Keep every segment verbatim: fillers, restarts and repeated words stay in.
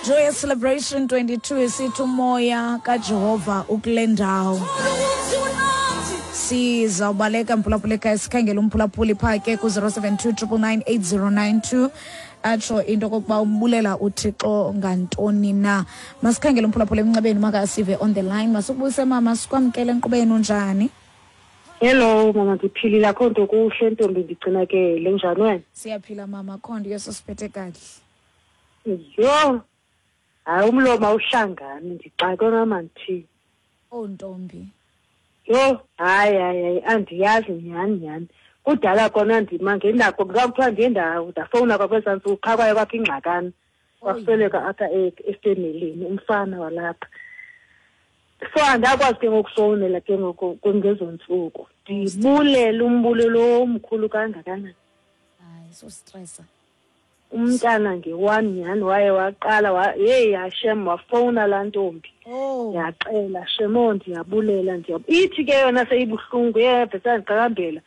Joyous Celebration twenty-two esithi umoya kaJehova ukule ndawo. Sizawubaleka mphulaphula ekhaya, sikhangela umphulaphuli phaa ke ku-zero seven two triple nine eight zero nine two, atsho into okokuba umbulela uThixo ngantoni na. Masikhangele umphulaphuli emnxebeni, makasive on the line. Masukubuyise mama, sikwamkele enkqubeni, unjani? Hello mama, ndiphilile, akho nto kuhle ntombi, ndigcinakele. Njani wena? Siyaphila mama, akho nto, yososiphethe kakuhle. Yho, hayi umlomo awuhlangani, ndixakwe mama ndithini. Oh ntombi. Yho, hayi hayi hayi, andiyazi nyhani nyhani. Kudala kona ndima ngenako, kuthiwa ndiye ndafowuna kwakwezaa ntsuku qha kwaye kwakho ingxakana. Kwasweleka apha efemelini umfana walapha. So andakwazi ke ngokufowunela ke ngoku ngezo ntsuku. Ndibulela umbulelo omkhulu kangakanani. Hayi, so stressa. Umntana nge-one nyhani waye waqala, yeyi hashem, wafowuna laa ntombi. Oh. Yaxela, shemo, ndiyabulela, ndiyabulela. Ithi ke yona seyibuhlungu, yeve sandiqakambela.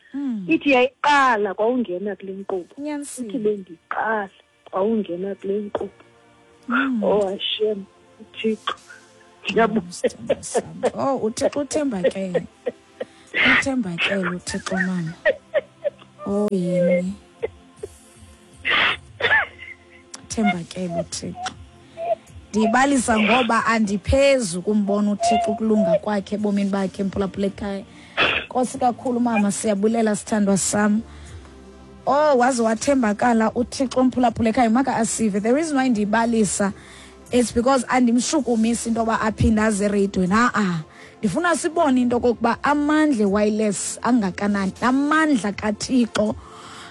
Ithi yayiqala kwawungena kule nkqubo. Ithi bendiqala kwawungena kule nkqubo. Oh hashem, uThixo. Ndiyabulela. Oh, uThixo uthembakele. Uthembakele uThixo mama. Oh yini. Thembakele uThixo. Ndibalisa ngoba andiphezu kumbona uThixo ukulunga kwakhe ebomini bakhe mphulaphula ekhaya. Nkosi kakhulu mama, siyabulela sithandwa sam. Oh, waze wathembakala uThixo mphulaphula ekhaya, maka asive. The reason why ndibalisa it's because andimshukumisi into yoba aphinde aze ereyidweni. Ha-a, ndifuna sibone into okokuba amandla wireless angakanani, amandla kaThixo.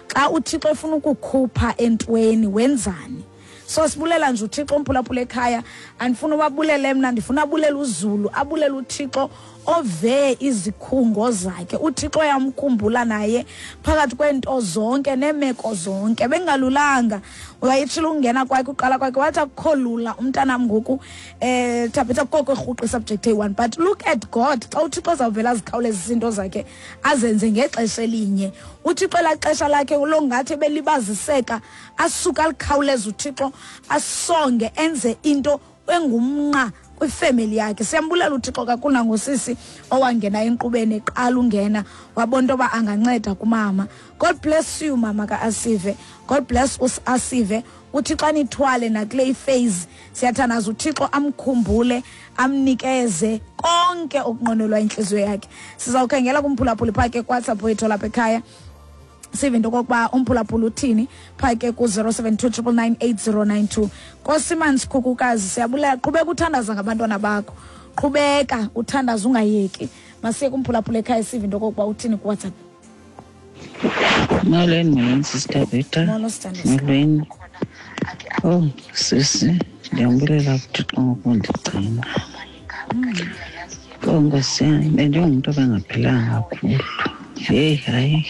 Xa uThixo efuna ukukhupha entweni wenzani? So sibulela nje uThixo umphulaphula ekhaya. Andifuna ubabulele mna, ndifuna abulela uZulu, abulela uThixo ove izikhungo zakhe. uThixo uyamkhumbula naye phakathi kweento zonke neemeko zonke. Bengalulanga, uyayitshila ukungena kwakhe, uqala kwakhe wathi akukho lula umntanam ngoku eh Thabetha koko erhuqa subject eyi-one. But look at God, xa uThixo azawuvela azikhawulezisa iinto zakhe azenze ngexesha elinye. uThixo elaa xesha lakhe longathi ebelibaziseka, asuka alikhawuleze uThixo, asonge enze into engumnqa kwifemeli yakhe. Siyambulela uThixo kakhulu nangosisi owangena enkqubeni eqala ungena wabona into yoba anganceda kumama. God bless you mama ka-Asive. God bless us Asive. uThixo anithwale nakule phase. Siyathandaza uThixo amkhumbule, amnikeze konke okunqwenelwa intliziyo yakhe. Sizawukhangela kumphulaphuli phaa ke kuWhatsApp wethu lapha ekhaya, sive into okokuba umphulaphula uthini phaa ke ku-zero seven two triple nine eight zero nine two. Nkosi Mansikhukukazi, siyabulela. Qhubeka uthandaza ngabantwana bakho, qhubeka uthandaza ungayeki. Masiye kumphulaphula ekhaya sive into okokuba uthini kuWhatsApp. Molweni, molweni Sister Beta. Molo sithandwa. Molweni. Oh sisi, ndiyambulela kuThixo ngokundigcina. Oh Nkosi yam, bendingumntu obengaphilanga kakhulu. Heyi hayi,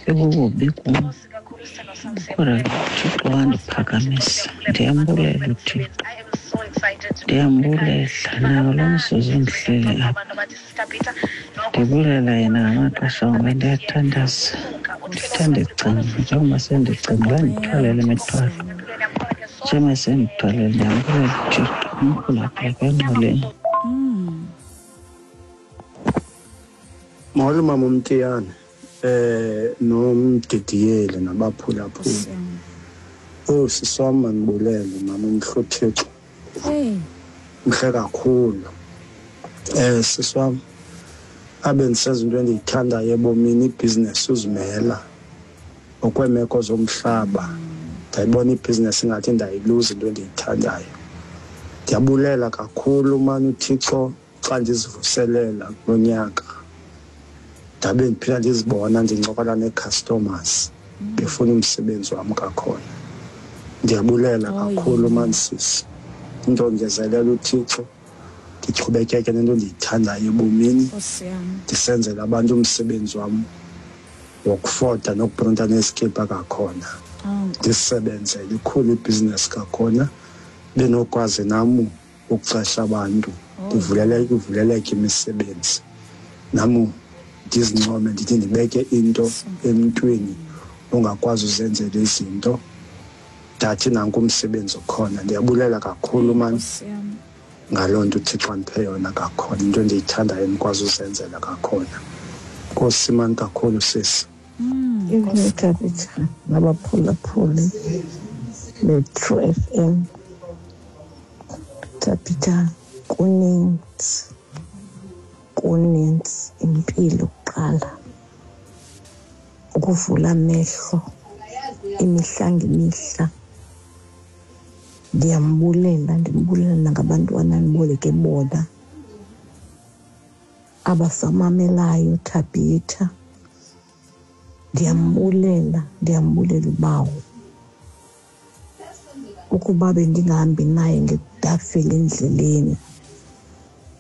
bekukubi kum. Kodwa ke uThixo wandiphakamisa. Ndiyambulela uThixo. Ndiyambulela nawo lo mzuzu ndihleli apha. Ndibulela yena ngamaxesha onke, ndiyathandaza. Ndithanda ndicinga, njengoba sendicinga bandithwalele imithwalo. Njengoba sendithwalele, ndiyambulela uThixo. Umphulaphula kwengqoleni. Molo mama uMtiyane, eh nomdidiyeli nabaphulaphuli. Oh sisi wam, mandibulele mama, umhle uThixo. Mhle kakhulu. Eh sisi wam, abe ndisenza into endiyithandayo ebomini, ibhizinesi uzimela ngokweemeko zomhlaba. Ndayibona ibhizinesi ingathi ndayiluza into endiyithandayo. Ndiyabulela kakhulu mani uThixo xa ndizivuselela kulo nyaka. Ndabe ndiphila ndizibona ndincokola nee-customers befuna umsebenzi wam kakhona. Ndiyabulela kakhulu mani sisi. Into ongezelela uThixo, ndiqhubekeke nento endiyithandayo ebomini, ndisenzela abantu umsebenzi wam wokufota nokuprinta nezikipa kakhona. Ndisebenzele ikhulu ibhizinesi kakhona, benokwazi nam ukuxesha abantu, ndivuleleke ivuleleke imisebenzi. Nam ndizincome ndithi ndibeke into emntwini ongakwazi uzenzela izinto. Ndathi nanku umsebenzi okhona. Ndiyabulela kakhulu mani ngaloo nto uThixo andiphe yona kakhona, into endiyithandayo ndikwazi uzenzela kakhona. Nkosi mani kakhulu sisi. Thabitha nabaphulaphuli be-True F M. Thabitha, kuninzi kuninzi impilo kuqala, ukuvula amehlo imihla ngemihla. Ndiyambulela, ndimbulela nangabantwana andiboleke bona abasamamelayo Thabitha. Ndiyambulela, ndiyambulela uBawo. Ukuba bendingahambi naye ngedafile endleleni.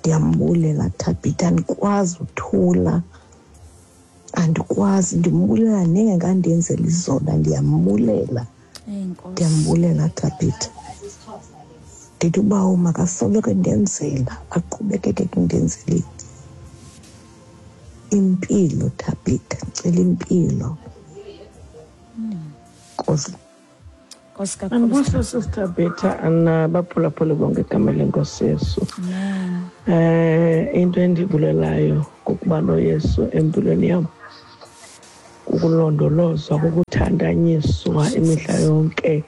Ndiyambulela Thabitha, andikwazi uthula, andikwazi. Ndimbulela nengekandenzela izona, ndiyambulela. Ndiyambulela Thabitha. Ndithi uBawo makasoloko endenzela, aqhubekeke kundenzeleni impilo Thabitha, ndicela impilo. Nkosi. Andibuso Sister Betha anabaphulaphuli bonke igama lenkosi Yesu. Eh into endibulelayo kukuba noYesu empilweni yam, kukulondolozwa, kukuthandanyiswa imihla yonke.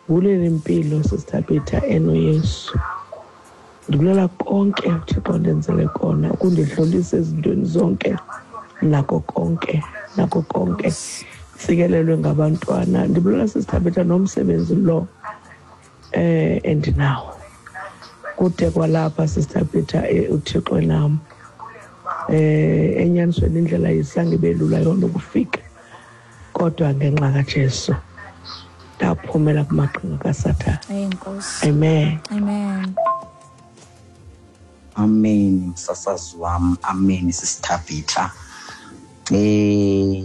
Bulela impilo Sister Betha enoYesu. Ndibulela konke uThixo ndenzele kona, ukundidlulisa ezintweni zonke nako konke, nako konke. Sikelelwe ngabantwana. Ndibulela Sister Betha nomsebenzi lo eh endinawo. Kude kwalapha Sister Betha uThixo nam. Eh enyanisweni indlela isange belula yona ukufika, kodwa ngenxa kaJesu ndaphumela kumaqhinga kaSathane. Enkosi. Amen. Amen. Amen msasazi wam, amen Sister Betha. Eh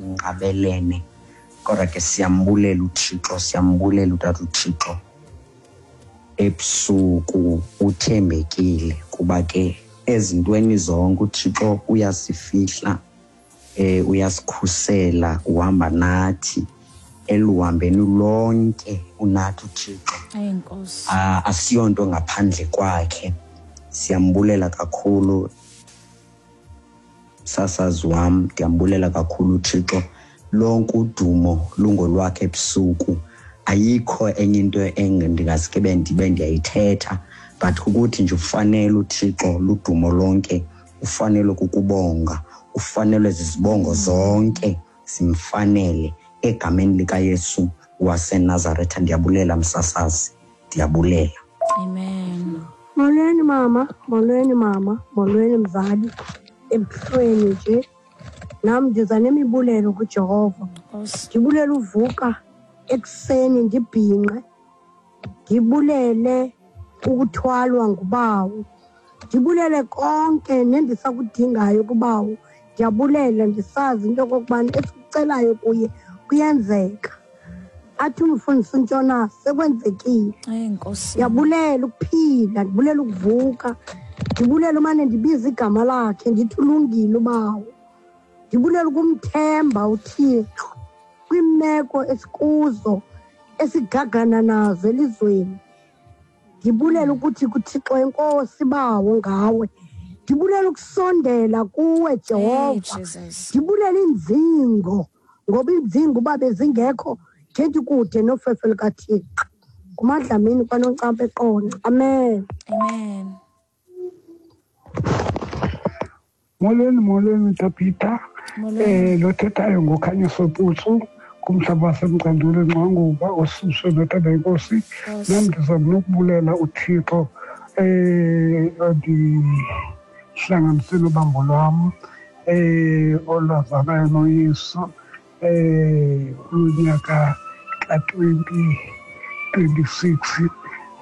inqabelene kodwa ke siyambulela uThixo, siyambulela utata uThixo ebusuku uthembekile, kuba ke ezintweni zonke uThixo uyasifihla, eh uyasikhusela, uhamba nathi eluhambeni lonke, unathi uThixo. Enkosi. Asiyonto ngaphandle kwakhe. Siyambulela kakhulu sasazi wam, ndiyambulela kakhulu uThixo. Lonke udumo lungolwakhe ebusuku. Ayikho enye into endingaske ndibe ndiyayithetha, but ukuthi nje ufanele uThixo ludumo lonke, ufanele kukubonga, ufanele zizibongo zonke simfanele egameni likaYesu waseNazaretha. Ndiyabulela msasazi, ndiyabulela. Amen. Molweni mama, molweni mama, molweni mzali. Ebuhlweni nje nam ndiza nemibulelo kuJehova. Ndibulela uvuka ekuseni ndibhinqe, ndibulele ukuthwalwa nguBawo, ndibulele konke nendisakudingayo kuBawo. Ndiyabulela ndisazi into yokokubana esikucelayo kuye kuyenzeka. Athi umfundisi uNtshona sekwenzekile. Ndiyabulela ukuphila, ndibulela ukuvuka, ndibulela umane ndibiza igama lakhe ndithi ulungile uBawo. Ndibulela ukumthemba uThixo kwiimeko esikuzo esigagana nazo elizweni. Ndibulela ukuthi kuThixo enkosi Bawo ngawe. Ndibulela ukusondela kuwe Jehova. Ndibulela inzingo, ngoba inzingo uba bezingekho ngendi kude nofefe lukaThixo. NguMadlamini kwaNoncampa eQonce. Amen. Amen. Molweni, molweni Thabitha. Eh lo thethayo ngoKhanyiso Putsu kumhlaba waseMcandule Ngcwanguba osuswe noThanda inkosi. Nam ndiza nokubulela uThixo eh ondihlanganisile ubambo lwam eh olwazanayo noYesu eh unyaka ka twenty twenty-six.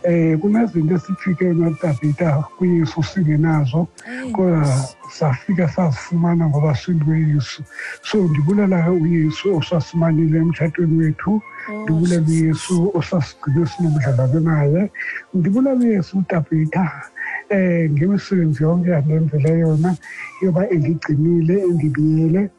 Eh kunezinto esifike noThabitha kuYesu singenazo, kodwa safika sazifumana ngoba singuYesu. So ndibulela uYesu osasimanile emtshatweni wethu, ndibulela uYesu osasigcine sinobudlelwane naye, ndibulela uYesu uThabitha eh ngemisebenzi yonke andenzele yona yoba endigcinile endibiyele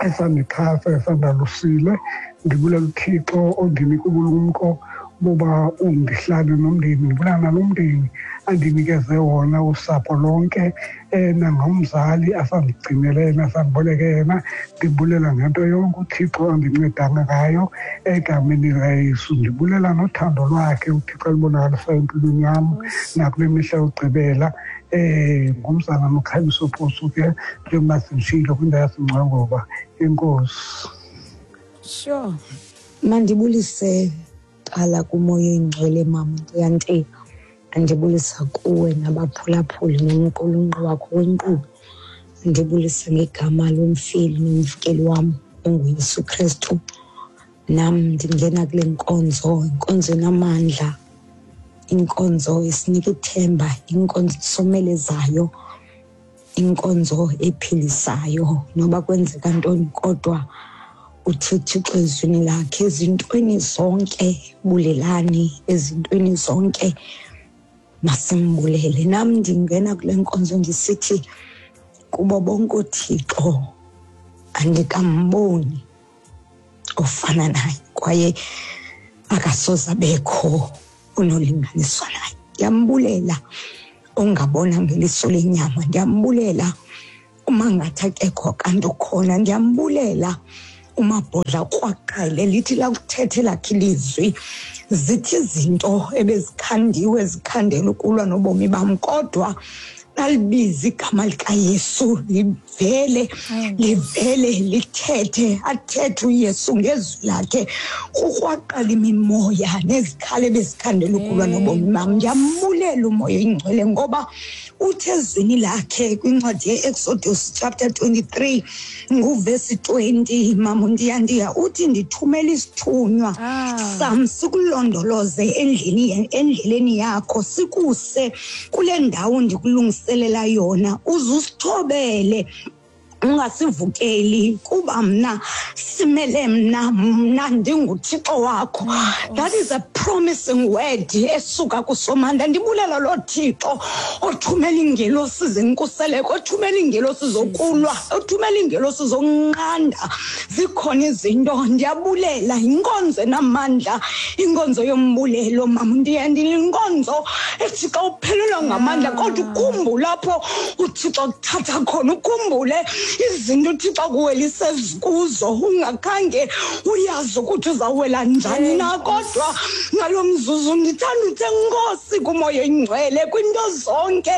Esandixhasa, esandalusile. Ndibulela uThixo ondinika ubulumko boba undihlale nomndeni, ndibulela nalo mndeni andinikeze wona, usapho lonke, um nangomzali asandigcinele yena, asandiboleke yena. Ndibulela ngento yonke uThixo andincedanga ngayo egameni likaYesu. Ndibulela nothando lwakhe uThixo alubonakalisayo empilweni yam nakule mihla yokugqibela. Um ngumzana noKhanyisa Posu ke, njengoba senditshilo, kwindawo yaseNgcwangoba. Enkosi. Sure. Mandibulise qala kuMoya Oyingcwele, mama Ntiyantiya. Andibulisa kuwe nabaphulaphuli nomqulunqi wakho wenkqubo. Ndibulisa ngegama lomfeli nomvikeli wam onguYesu Krestu. Nam ndingena kule nkonzo, inkonzo enamandla, inkonzo esinika ithemba, inkonzo esomelezayo, inkonzo ephilisayo. Noba kwenzeka ntoni kodwa uthi Thixo ezwini lakhe, ezintweni zonke bulelani, ezintweni zonke masimbulele. Nam ndingena kule nkonzo ndisithi kubo bonke uThixo andikamboni ofana naye, kwaye akasoze abekho onolinganiswa naye. Ndiyambulela ongabona ngeliso lenyama, ndiyambulela uma ngathi akekho kanti ukhona, ndiyambulela umabhodla kwaqale lithi lakuthethe lakhe ilizwi, zithi izinto ebezikhandiwe zikhandela ukulwa nobomi bam, kodwa nalibiza igama likaYesu livele livele lithethe, athethe uYesu ngezwi lakhe, kukwaqala imimoya nezikhali ebezikhandela ukulwa nobomi bam. Ndiyambulela uMoya Oyingcwele ngoba uthe ezwini lakhe kwincwadi ye-Exodus chapter twenty-three nguvesi twenty, mama Ntiyantiya, uthi ndithumela isithunywa sam sikulondoloze endleleni endleleni yakho, sikuse kule ndawo ndikulungiselela yona, uze usithobele, ungasivukeli, kuba mna simele mna, mna ndinguThixo wakho. That is a promising word esuka kuSomandla. Ndibulela lo Thixo othumela iingelosi zenkuseleko, othumela iingelosi zokulwa, othumela iingelosi zokunqanda. Zikhona izinto, ndiyabulela inkonzo enamandla, inkonzo yombulelo, mama Ntiyantiya, inkonzo ethi xa uphelelwa ngamandla kodwa ukhumbule apho uThixo akuthatha khona, ukhumbule izinto uThixo akuwelise kuzo, ungakhange uyazi ukuthi uzawuwela njani na, kodwa ngalo mzuzu ndithanda uthe Nkosi kuMoya Oyingcwele, kwinto zonke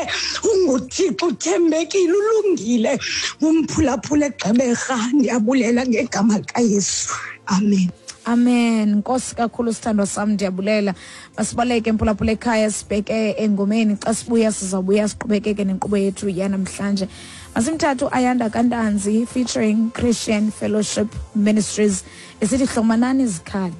unguThixo, uthembekile, ulungile, umphulaphula eGqeberha. Ndiyabulela ngegama likaYesu, amen. Amen. Nkosi kakhulu sithandwa sam, ndiyabulela. Masibaleke mphulaphula ekhaya, sibheke engomeni. Xa sibuya sizawubuya siqhubekeke nenkqubo yethu yanamhlanje. Masimthathu Ayanda Kantanzi featuring Christian Fellowship Ministries esithi hlomanani izikhali.